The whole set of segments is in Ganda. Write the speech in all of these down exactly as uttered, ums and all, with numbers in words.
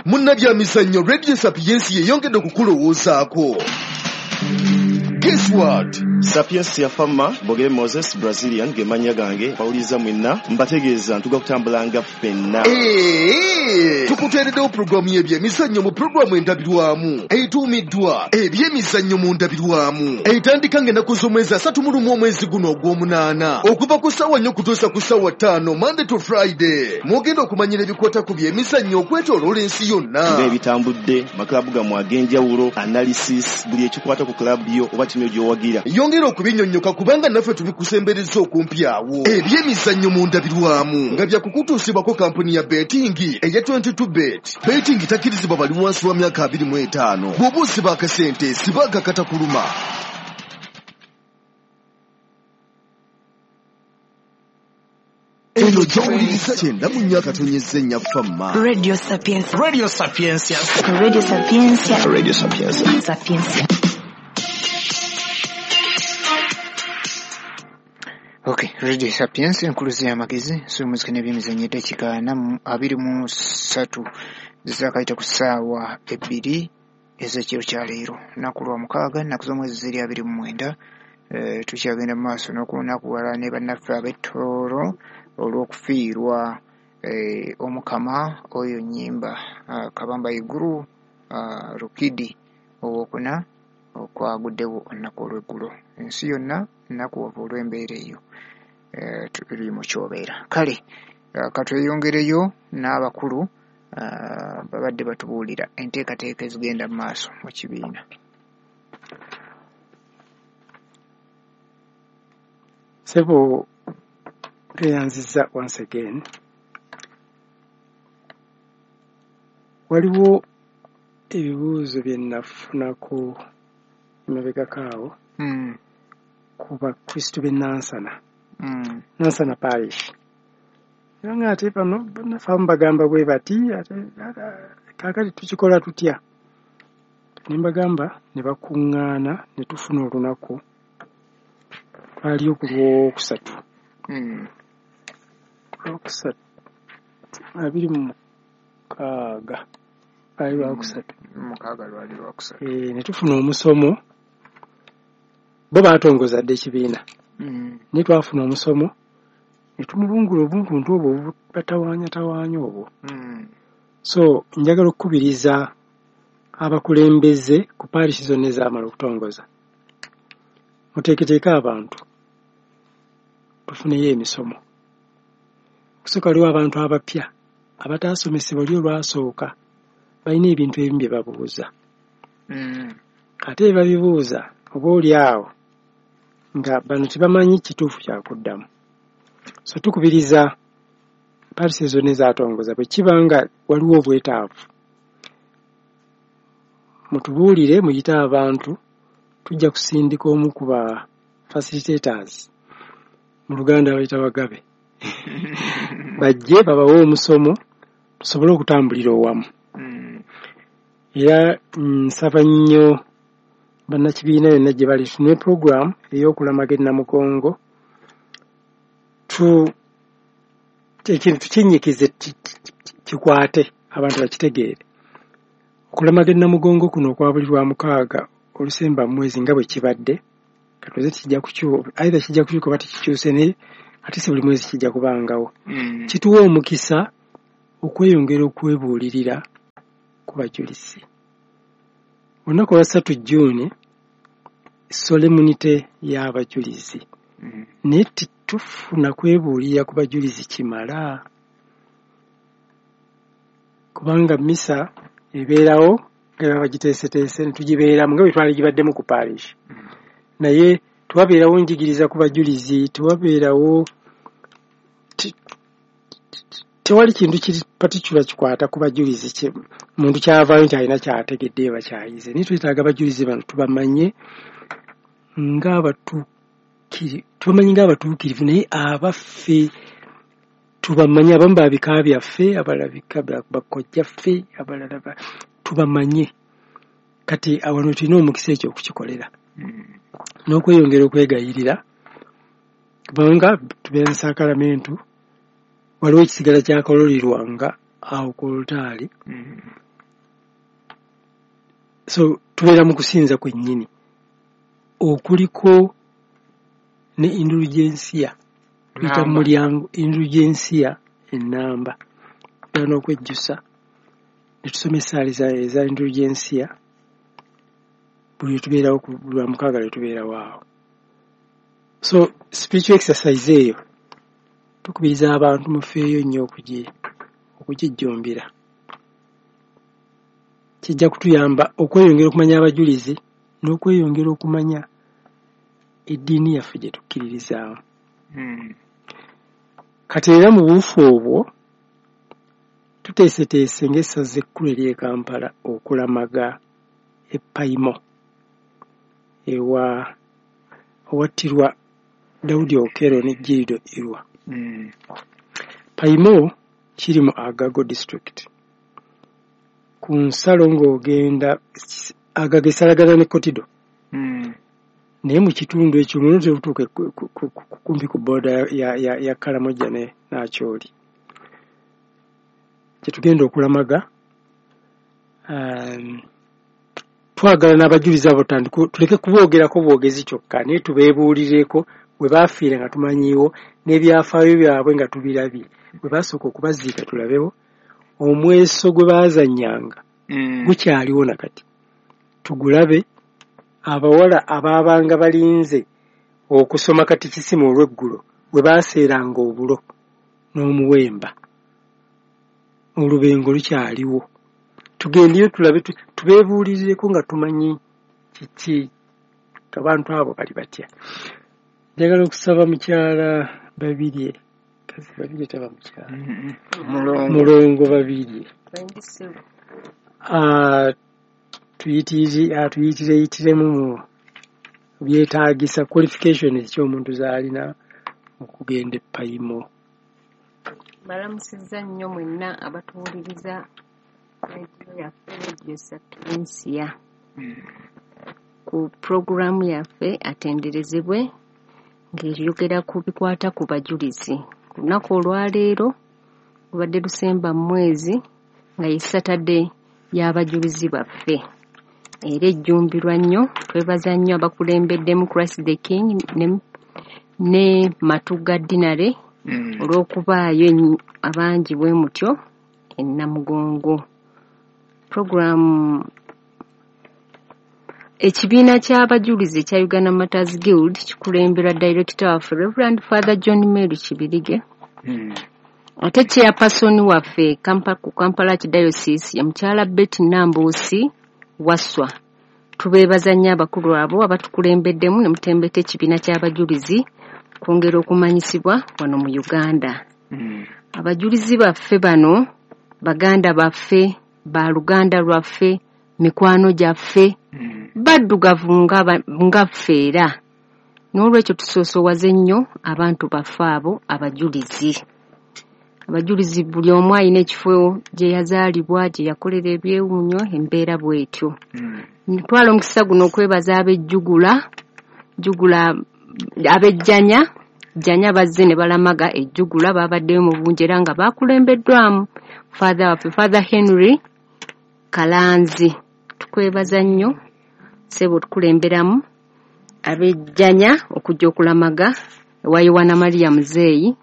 Munnabyamizannyo, Radio Sapiensia yeyongedde okukulowoozaako. Guess what? Sapiensia Fama, Bogere Moses, Brazilian, ge mannya gange, bawuliza mwenna, mbategeeza ntuga kutambulanga ffenna. Ee, tukuteereddewo pulogulaamu y'ebyemizannyo mu pulogulaamu endabirwamu etuumiddwa Ebyemizannyo mu Ndabirwamu, etandika ng'ennaku z'omwezi asatu mu lumu omwezi guno ogw'omunaana, okuva ku ssaawa nnya okutuusa ku ssaawa ttaano, Monday to Friday. Mwogenda okumanyira ebikwata ku byemizannyo okwetooloola ensi yonna, ng'ebitambudde, makalabu gammwe ag'enjawulo, analysis, buli ekikwata ku club yo oba ttiimu gy'owagira. Yongera okubinyonnyoka kubanga naffe tubikusembereza okumpi awo. Ebyemizannyo mu Ndabirwamu nga byakukutuusibwako kampuni ya betting eya twenty-two Bet. Betting takkirizibwa bali wansi wa myaka abiri mu etaano. Bw'oba osiba akasente, siba akakatakuluma. Eno gy'owuliriza kyenda mu nnya akatonyeza ennya Fama. Radio Sapientia. Radio Sapientia. Radio Sapientia. Radio Sapientia. Sapientia. Okay, Radio Sapiens, enkuluzi y'amagezi, so muzika n'ebyemizannyo. Eddakiika ana mu abiri mu ssatu zizakayita ku ssaawa ebbiri ez'ekiro kya leero, lunaku lwa mukaaga, nnaku z'omwezi ziri abiri mu mwenda. Eh, tukyagenda mu maaso n'okunakuwala ne bannaffe ab'Ettooro olw'okufiirwa eh, Omukama oyo Nnyimba, ah, Kabamba Iguru, ah, Rukidi owokuna, okwaguddewo olunaku olw'eggulo. Ensi yonna nnakuwavu olw'embeera eyo eh, tuli mu kyobeera. Kale eh, katweyongereyo n'abakulu, ah, babadde batubuulira enteekateeka ezigenda mu maaso mu kibiina. Sebo, tweyanziza once again. Waliwo ebibuuzo bye nafunako emabegako awo Mm, ku bakristu b'e Nansana, mm, Nansana Parish, era nga ate bano bannaffe abamu bagamba bwe bati, ate kaakati tukikola tutya? Ne mbagamba ne bakuŋŋaana ne tufuna olunaku, twaliyo ku Lwokusatu, mm, Lwokusatu abiri mu mukaaga, lwali Lwakusatu. Mukaaga, lwali Lwakusatu. Eh, ne tufuna omusomo. Bo baatongoza dda ekibiina, Mm, naye twafuna omusomo ne tumulungula obuntuntu obwo obubatawaanyatawaanya obwo. mm, So njagala okukubiriza abakulembeze ku parish zonna ezaamala okutongoza, muteeketeeke abantu, tufuneyo emisomo. Okusooka waliwo abantu abapya abataasomesebwa oli olwasooka, balina ebintu ebimu bye babuuza, mm, ate bye babibuuza oba oli awo nga bano tebamanyi kituufu kyakuddamu. So tukubiriza parish zonna ezaatongoza, bwe kiba nga waliwo obwetaavu, mutubuulire, muyite abantu, tujja kusindika omu ku ba facilitators, mu Luganda bayita bagabe, bajje babawe omusomo tusobole okutambulira owamu. Mm, era nsaba nnyo bannakibiina yonna gye bali, tune program ey'okulamaga e Namugongo, tu ekintu tukinnyikize, ki- ki- kikwate abantu bakitegeere. Okulamaga e Namugongo kuno okwa buli lwa mukaaga olusemba mu mwezi nga bwe kibadde, katuze kijja kukyuka, either kijja kukyuka oba tekikyuse, naye ate si buli mwezi kijja kubangawo. mm, Kituwa omukisa okweyongera okwebuulirira ku bajulizi. Olunaku olwa ssatu June, solemnity y'abajulizi, mm, naye tetufuna kwebuulirira ku bajulizi kimala, kubanga misa ebeerawo nga baba bagiteeseteese ne tugibeeramu nga bwe twali gibaddemu ku parish, naye tewabeerawo njigiriza ku bajulizi, tewabeerawo te- tewali kintu kiri particular kikwata ku bajulizi kye muntu kyavaayo nti alina kyategedde oba kyayize. Naye twetaaga abajulizi bano tubamanye ng'abatuukiri, tubamanyi ng'abatuukirivu, naye abaffe tubamanye, abamu ba bika byaffe, abalala bika bya bakojjaffe, abalala ba- tubamanye. Kati awano tulina omukisa ekyo okukikolera mm, n'okweyongera okwegayirira, kubanga tubeera ne saakalamentu, waliwo ekisigala kyakololerwanga awo ku olutaali. mm, So tubeera mu kusinza kwennyini okuliko ne indulgensia, tuyita mu mulyango indulgensia ennamba, era n'okwejjusa ne tusoma essaala eza indulgensia buli tubeerawo ku lwa mukaaga lwe tubeerawo awo. So spiritual exercise eyo tukubiriza abantu mufeeyo nnyo okugijjumbira. Kijja kutuyamba okweyongera okumanya abajulizi n'okweyongera okumanya eddiini yaffe gye tukkiririzaamu. Mm. Kati era mu buufu obwo tuteeseteese ng'essaza ekkulu ery'e Kampala okulamaga e Paimo ewa owattirwa Daudi Okello ne Gildo Irwa. Mm. Paimo kiri mu Agago district. Ku nsalo ng'ogenda Agago esalagana ne Kotido. Mm. Naye mu kitundu ekyo muno tebutuuka kumpi ku booda ya, ya, ya Karamoja ne Acholi. Kye tugenda okulamaga, um, twagala n'abajulizi abo tuleke kuboogerako bwogezi kyokka, naye tubeebuulireko we baafiira nga tumanyiiwo n'ebyafaayo byabwe nga tubirabye, bwe baasooka okubaziika tulabewo omweso gwe baazannyanga mm. gukyaliwo na kati tugulabe. Abawala abaabanga balinze okusoma katikisimu olw'eggulo we baaseeranga obulo n'omuwemba, olubengo lukyaliwo. Tugendeyo tulabe, tubeebuulirireko nga tumanyi kiki abantu abo bali batya. Njagala okusaba mukyala Babirye, kazi Babirye taba mukyala, mm-hmm. Mulongo, Mulongo Babirye tuyitire yitiremu mu byetaagisa qualification eky'omuntu z'alina okugenda e Paimo. Balamusizza nnyo mwenna abatuwuliriza rediyo yaffe Radio Sapientia ku pulogulaamu yaffe atenderezebwe ng'eyogera ku bikwata ku bajulizi. Ku lunaku olwaleero lubadde lusemba mwezi nga ye Saturday y'abajulizi baffe, era ejjumbirwa nnyo. Twebaza nnyo abakulembeddemu Christ the King ne, ne Matuga Dinare mm. olw'okubaayo abangi bwe mutyo e Namugongo. Program ekibiina ky'abajulizi ekya Uganda Martyrs Guild kikulemberwa Director waffe Reverend Father John Mary Kibirige. Mm. Ate chairperson waffe Kampa, ku Kampala Archdiocese ye mukyala Betty Nambuusi Wasswa. Tubeebaza nnyo abakulu abo abatukulembeddemu ne mutembeta ekibiina ky'abajulizi kwongera okumanyisibwa wano mu Uganda. Mm. Abajulizi baffe bano baganda baffe, baluganda lwaffe, mikwano gyaffe, mm. baddugavu nga ffe era. N'olwekyo tusoosowaze nnyo abantu baffe abo abajulizi. Abajulizi buli omu alina ekifo gye yazaalibwa, gye yakolera ebyewuunyo, embeera bw'etyo. Mm. Ntwala omukisa guno okwebaza ab'ejjugula, jjugula ab'ejjanya, jjanya bazze ne balamaga ejjugula, babaddeyo mu bungi era nga bakulembeddwamu Father waffe Father Henry Kalanzi. Tukwebaza nnyo ssebo tukulemberamu ab'ejjanya okujja okulamaga ewa Yowana Maria Muzeeyi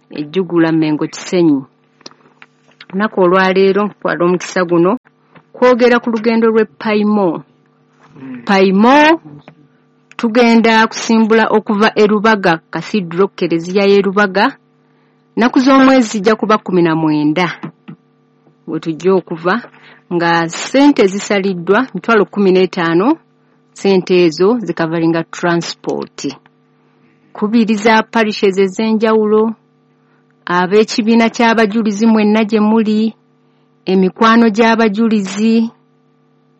ejjugula Mengo Kisenyi. Olunaku olwaleero ntwala omukisa guno kwogera ku lugendo lw'e Paimo. Mm. Paimo tugenda kusimbula okuva e Rubaga Cathedral, Kereziya y'e Rubaga. Nnaku z'omwezi zijja kuba kkumi na mwenda we tujja okuva, nga ssente zisaliddwa mitwalo kkumi n'etaano. Ssente ezo zikavalinga transport. Kubiriza parishes ez'enjawulo, ab'ekibiina ky'abajulizi mwenna gye muli, emikwano gy'abajulizi,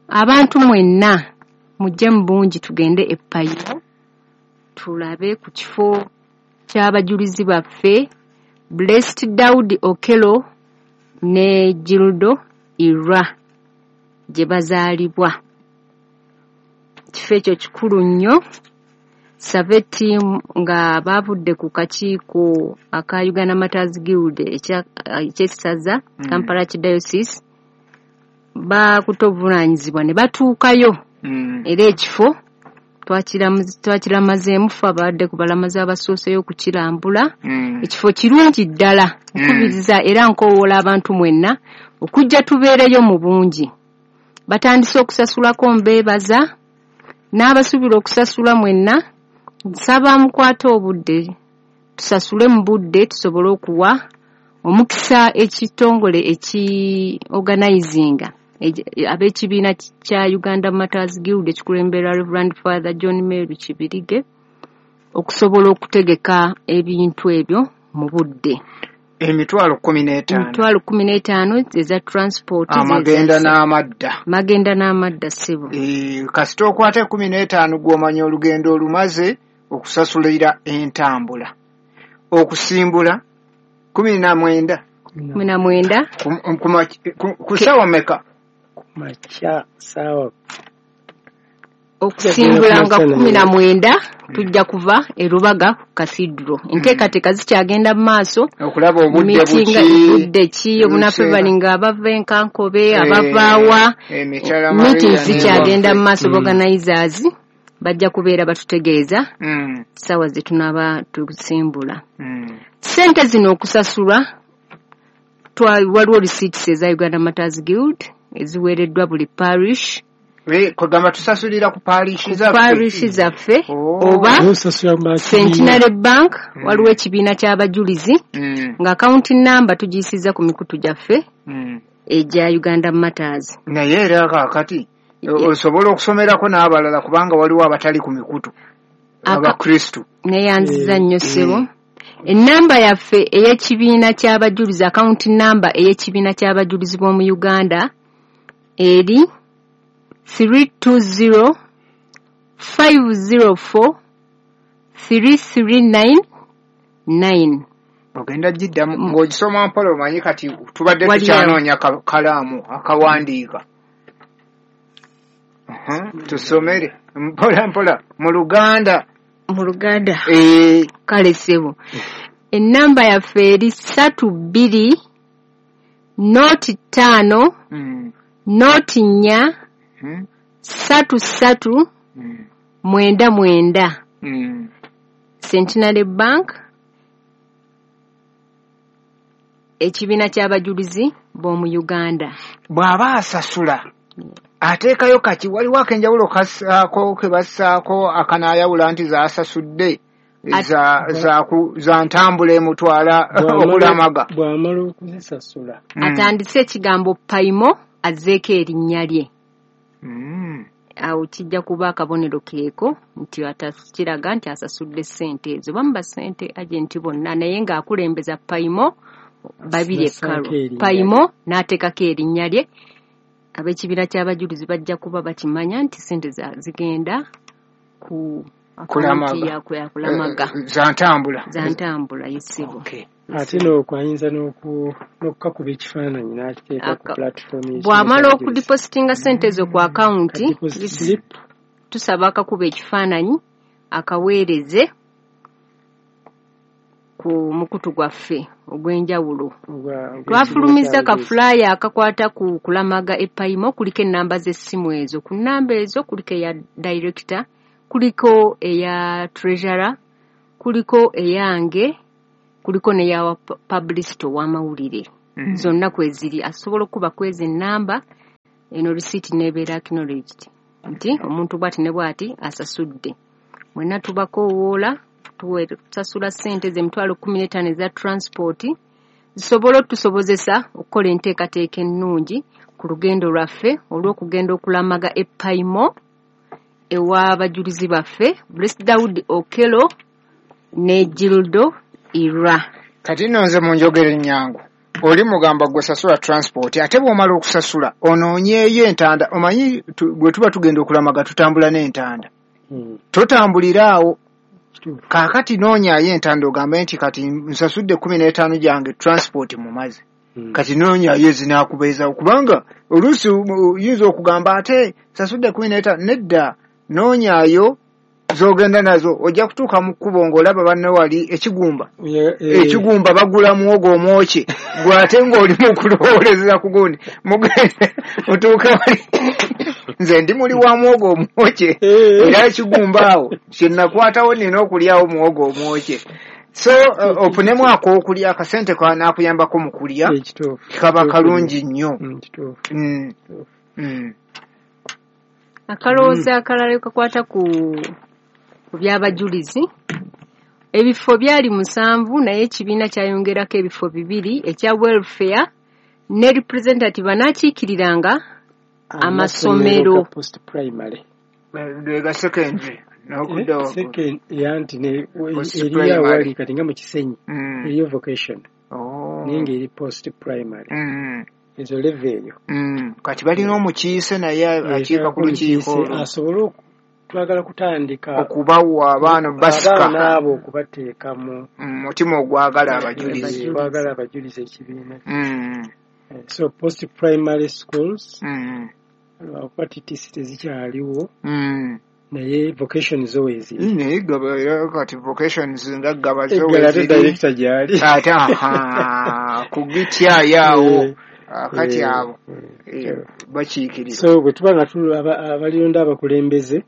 abantu mwenna mujje mu bungi tugende e Paimo tulabe ku kifo ky'abajulizi baffe Blessed Daudi Okello ne Gildo Irwa gye bazaalibwa. Ekifo ekyo kikulu nnyo. Survey team nga bavudde ku kakiiko aka Uganda Martyrs Guild eky'essaza Mm. Kampala Archdiocese bakutte obuvunaanyizibwa ne batuukayo. Mm. Era ekifo twakiramazeemu ffe abadde ku balamazi abasooseyo okukirambula. Mm. Ekifo kirungi ddala, nkubiriza era nkoowoola abantu mwenna okujja tubeereyo mu bungi. Batandise okusasulako mbeebaza, n'abasuubira okusasula mwenna nsaba mukwate obudde, tusasule mu budde tusobole okuwa omukisa ekitongole eki organizinga ab'ekibiina kya Uganda Martyrs Guild ekikulembera Reverend Father John Meru Kibirige okusobola okutegeka ebintu ebyo mu budde. Emitwalo kkumi n'etaano. Emitwalo kkumi n'etaano eza transport. Amagenda n'amadda. Magenda n'amadda ssebo. E, kasita okwata ekkumi n'etaano gw'omanya olugendo olumaze okusasulira entambula. Okusimbula kkumi na mwenda. Kkumi na mwenda. Ku ssaawa mmeka? Makya ssaawa. Okusimbula nga kkumi na mwenda tujja kuva e Rubaga ku Cathedral. Enteekateeka zikyagenda mu maaso. Okulaba obudde buki. Obudde ki, obunaffe balinga abava Enkankobe, abavaawa. Meetings zikyagenda mu maaso, organizers bajja kubeera batutegeeza ssaawa ze tunaaba tusimbula. Ssente zino okusasulwa, waliwo receipts eza Uganda Martyrs Guild eziweereddwa buli parish. Kugamba tusasulira ku parish zaffe. Parish zaffe oba Centenary Bank, waliwo ekibiina ky'abajulizi nga account number tugiyisizza ku mikutu gyaffe egya Uganda Martyrs. Naye era kaakati osobola okusomerako n'abalala kubanga waliwo abatali ku mikutu Abakristu. Neeyanziza nnyo ssebo. Ennamba yaffe ey'ekibiina ky'abajulizi, account number ey'ekibiina ky'abajulizi b'omu Uganda eri three two zero five zero four three three nine nine. Ogenda giddamu ng'ogisoma mpola, omanyi kati tubadde tukyanoonya kalaamu akawandiika. Tusomere mpola mpola mu Luganda. Mu Luganda. Kale ssebo. Ennamba yaffe eri ssatu bbiri nooti ttaano nooti nnya ssatu ssatu mwenda mwenda. Centenary Bank, ekibiina ky'abajulizi b'omu Uganda. Bw'aba asasula ateekayo kaki, waliwo ak'enjawulo kassaako ke bassaako akanaayawula nti zaasasudde za ntambula emutwala okulamaga. Bw'amala okuzisasula atandise ekigambo Paimo azzeeko erinnya lye. Awo kijja kuba akabonero keeko nti kiraga nti asasudde ssente ezo. Bamuba ssente agenti bonna, naye ng'akulembeza Paimo babiri ekkalo. Paimo n'ateekako erinnya lye. Ab'ekibiina ky'abajulizi bajja kuba bakimanya nti ssente zigenda ku kulamaga za ntambula. Za ntambula yesibo. Ate n'okwayinza n'okukakuba ekifaananyi n'akiteeka ku platform. Bw'amala okudipositinga ssente ezo ku akawunti, tusaba akakuba ekifaananyi akaweereze ku mukutu gwaffe ogw'enjawulo. Twafulumizza ka flyer akakwata ku kulamaga e Paimo, kuliko ennamba z'essimu ezo. Ku nnamba ezo kuliko eya director, kuliko eya treasurer, kuliko eyange, kuliko n'eya publicist ow'amawulire. Zonna kweziri. Asobola okuba kwezi ennamba eno receipt n'ebeera acknowledged nti omuntu bw'ati ne bw'ati asasudde. Mwenna tubakoowoola tusasula ssente z'emitwalo kkumi n'etaano eza transport zisobole otusobozesa okukola enteekateeka ennungi ku lugendo lwaffe olw'okugenda okulamaga e Paimo ew'abajulizi baffe Blessed Daud Okello ne Gildo Ira. Kati nno nze mu njogera ennyangu oli mugamba gwe sasula transport, ate bw'omala okusasula onoonyeeyo entanda. Omanyi bwe tuba tugenda okulamaga tutambula n'entanda, totambulira awo. Kaakati noonyaayo entanda ogambe nti kati nsasudde kkumi n'etaano gyange transport mumaze, kati noonyaayo ezinaakubeezawo, kubanga oluusi oyinza okugamba ate nsasudde kkumi n'etaano. Nedda, noonyaayo z'ogenda nazo ojja kutuuka mu kkubo ng'olaba banne wali ekigumba ekigumba bagula muwogo omwokye gwe ate ng'oli mu kulowooleza ku gundi mugende otuuke wali nze ndi muli wa muwogo omwokye era ekigumba awo kye nakwatawo nina okulyawo muwogo omwokye. So uh, ofunemu ak'okulya akasente kanaakuyambako mu kulya kaba kalungi nnyo. Mm. Mm. Akalowoozo akalala kakwata ku ku by'abajulizi. Ebifo byali musanvu naye ekibiina kyayongerako ebifo bibiri ekya welfare ne representative anaakiikiriranga amasomero post primary ga secondary n'okudda second yanti ne eriyo awali kati nga mu Kisenyi eriyo vocation naye ng'eri post primary ezo level eyo. Kati balina omukiise naye akiika ku lukiiko asobole twagala kutandika okubawa abaana basika abaana abo okubateeka mu mutima ogwagala abajulizi ogwagala abajulizi ekibiina. So post primary schools lwakuba T T C tezikyaliwo naye vocation zo weeziri naye gaba kati vocations nga gaba zo weeziri director gyali ate aha kugityayaawo kati abo bakiikirira. So bwe tuba nga abalonda abakulembeze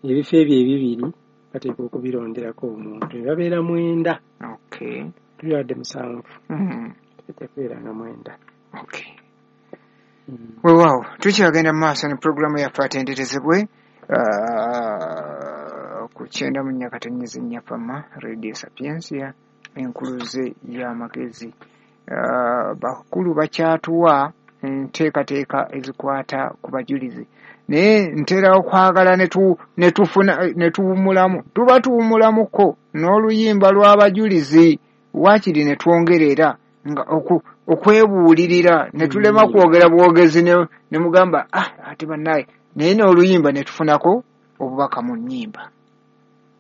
ebifo ebyo ebibiri bateekwa okubironderako omuntu ne babeera mwenda. Okay. Tulwadde musanvu tujja kubeera nga mwenda. Okay. Weewaawo tukyagenda mu maaso ne pulogulaamu yaffe atenderezebwe ku kyenda mu nnya katonnyezi nnya Fama Radio Sapientia enkuluze y'amagezi. Bakulu bakyatuwa enteekateeka ezikwata ku bajulizi naye ntera okwagala ne tufuna ne tuwummulamu tuba tuwummulamuko n'oluyimba lw'abajulizi waakiri ne twongerera nga okwebuulirira ne tulema kwogera bwogezi ne mugamba ah ate bannaye naye n'oluyimba ne tufunako obubaka mu nnyimba.